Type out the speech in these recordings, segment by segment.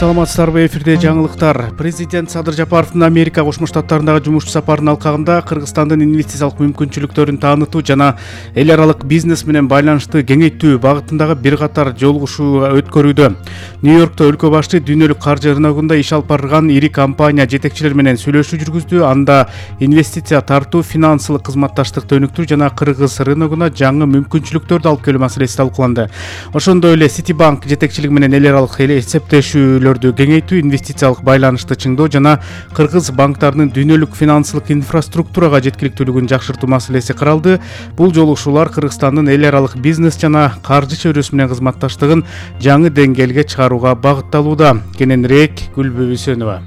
Саламатсыздарбы, эфирде жаңылыктар. Президент Садыр Жапаровдун Америка Кошмо Штаттарындагы жумуш сапарынын алкагында Кыргызстандын инвестициялык мүмкүнчүлүктөрүн таанытуу жана эл аралык бизнес менен байланышты кеңейтүү багытындагы бир катар жолугушуу өткөрүүдө. Нью-Йоркто өлкө башчы дүйнөлүк каржы рыногунда иш алып барган ири компания жетекчилери менен сүйлөшүү жүргүздү. Анда инвестиция тартуу, финансылык кызматташтыкты өнүктүрүү жана кыргыз рыногуна жаңы мүмкүнчүлүктөрдү алып келүү маселеси талкууланды. Ошондой эле Citibank жетекчилиги менен эл аралык эсептешүүлөрдү кеңейтүү, инвестициялык байланышты чыңдоо жана кыргыз банктарынын дүйнөлүк финансылык инфраструктурага жеткиликтүүлүгүн жакшыртуу маселеси каралды. Бул жолугушуулар Кыргызстандын эл аралык бизнес жана каржы чөйрөсү менен кызматташтыгын жаңы деңгээлге чыгарууга багытталууда. Кененирээк Гүлбү Үсөнова.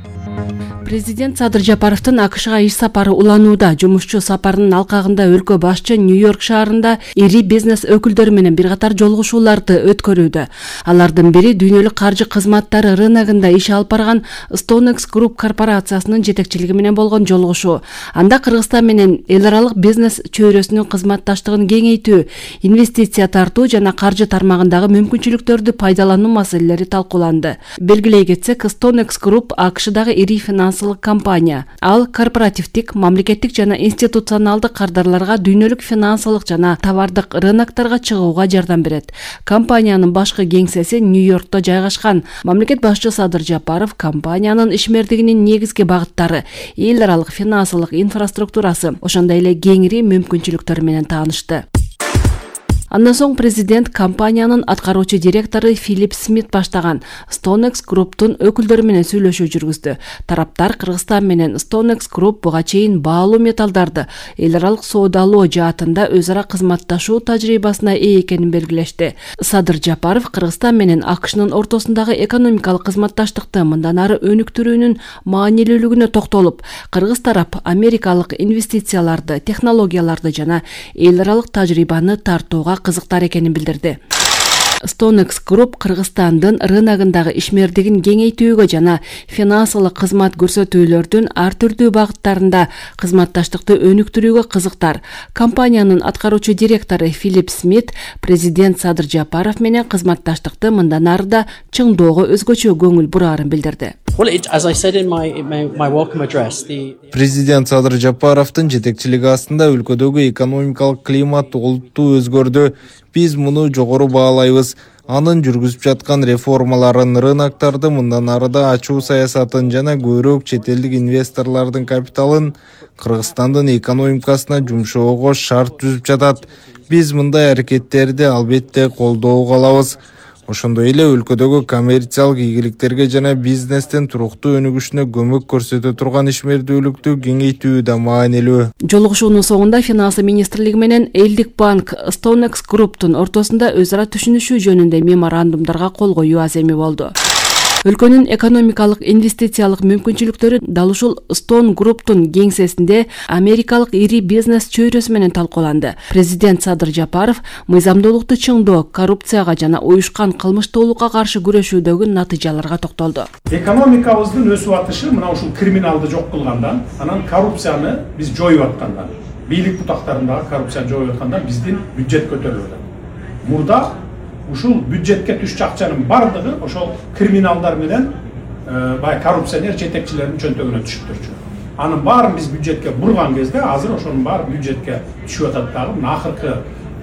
Президент Садыр Жапаровдун АКШга иш сапары уланууда. Жумушчу сапарынын алкагында өлкө башчы Нью-Йорк шаарында ири бизнес өкүлдөрү менен бир катар жолугушууларды өткөрүүдө. Алардын бири дүйнөлүк каржы кызматтары рыногунда иш алып барган StoneX Group корпорациясынын жетекчилиги менен болгон жолугушуу. Анда Кыргызстан менен эл аралык бизнес чөйрөсүнүн кызматташтыгын кеңейтүү, инвестиция тартуу жана каржы тармагындагы мүмкүнчүлүктөрдү пайдалануу маселелери талкууланды. Белгилей кетсек, StoneX Group АКШдагы ири финансылык компания. Ал корпоративдик, мамлекеттик жана институционалдык кардарларга дүйнөлүк финансылык жана товардык рыноктарга чыгууга жардам берет. Компаниянын башкы кеңсеси Нью-Йоркто жайгашкан. Мамлекет башчы Садыр Жапаров компаниянын ишмердигинин негизги багыттары, эл аралык финансылык инфраструктурасы, ошондой эле кеңири мүмкүнчүлүктөрү менен таанышты. Андан соң президент компаниянын аткаруучу директору Филипп Смит баштаган StoneX Group'тун өкүлдөрү менен сүйлөшүү жүргүздү. Тараптар Кыргызстан менен StoneX Group буга чейин баалуу металлдарды эл аралык соодалоо жаатында өз ара кызматташуу тажрыйбасына ээ экенин белгилешти. Садыр Жапаров Кыргызстан менен АКШнын ортосундагы экономикалык кызматташтыкты мындан ары өнүктүрүүнүн маанилүүлүгүнө токтолуп, кыргыз тарап америкалык инвестицияларды, технологияларды жана эл аралык тажрыйбаны тартууга кызыктар экенин билдирди. StoneX Group Кыргызстандын рыногундагы ишмердигин кеңейтүүгө жана финансылык кызмат көрсөтүүлөрдүн ар түрдүү багыттарында кызматташтыкты өнүктүрүүгө кызыктар. Компаниянын аткаруучу директору Филипп Смит президент Садыр Жапаров менен кызматташтыкты мындан ары да чыңдоого өзгөчө көңүл бураарын билдирди. Президент Садыр Жапаровдун жетекчилиги астында өлкөдөгү экономикалык климат олуттуу өзгөрдү. Биз муну жогору баалайбыз. Анын жүргүзүп жаткан реформаларын, рыноктарды мындан арыда ачуу саясатын жана көбүрөөк чет элдик инвесторлордун капиталын Кыргызстандын экономикасына жумшоого шарт түзүп жатат. Биз мындай аракеттерди албетте колдоо кылабыз. Ошондой эле өлкөдөгү коммерциялык ийгиликтерге жана бизнестин туруктуу өнүгүшүнө көмөк көрсөтө турган ишмердүүлүктү кеңейтүү да маанилүү. Жолугушуунун соңунда Финансы министрлиги менен Элдик банк StoneX Group'тун ортосунда өз ара түшүнүшүү жөнүндө меморандумдарга кол коюу аземи болду. Өлкөнүн экономикалык инвестициялык мүмкүнчүлүктөрү дал ушул Stone Group'тун кеңсесинде америкалык ири бизнес чөйрөсү менен талкууланды. Президент Садыр Жапаров мыйзамдуулукту чыңдоо, коррупцияга жана уюшкан кылмыштуулукка каршы күрөшүүдөгү натыйжаларга токтолду. Экономикабыздын өсүп атышы мына ушул криминалды жок кылгандан, анан коррупцияны биз жоюп аткандан, бийлик бутактарындагы коррупцияны жоюп аткандан биздин бюджет көтөрүлүп атат. Мурда ушул бюджетке түшчү акчанын бардыгы ошол криминалдар менен бай коррупционер жетекчилердин чөнтөгүнө түшүп турчу. Анын баарын биз бюджетке бурган кезде азыр ошонун баары бюджетке түшүп атат дагы. Мына акыркы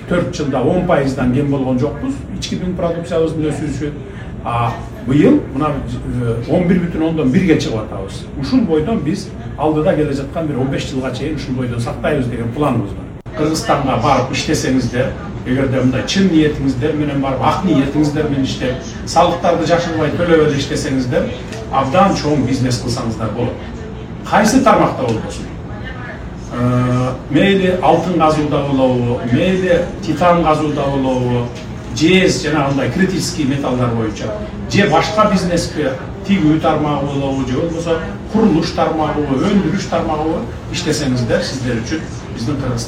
4 жылда 10%дан кем болгон жокпуз. Ички бүң продукциябыздын өсүүсү. Быйыл мына 11,1-ге чыгып атабыз. Ушул бойдон биз алдыда келе жаткан бир 15 жылга чейин ушул бойдон сактайбыз деген планыбыз бар. Кыргызстанга барып иштесеңиздер, эгерде мындай чын ниетиңиздер менен барып, ак ниетиңиздер менен иштеп, салыктарды жашырбай төлөп эле иштесеңиздер, абдан чоң бизнес кылсаңыздар болот. Кайсы тармакта болбосун? Мейли алтын казууда болобу, мейли титан казууда болобу, же жанагындай критический металлдар боюнча, же башка бизнеске тигүү тармагы болобу, же болбосо курулуш тармагы, өндүрүш тармагы иштесеңиздер, сиздер үчүн биздин Кыргызстан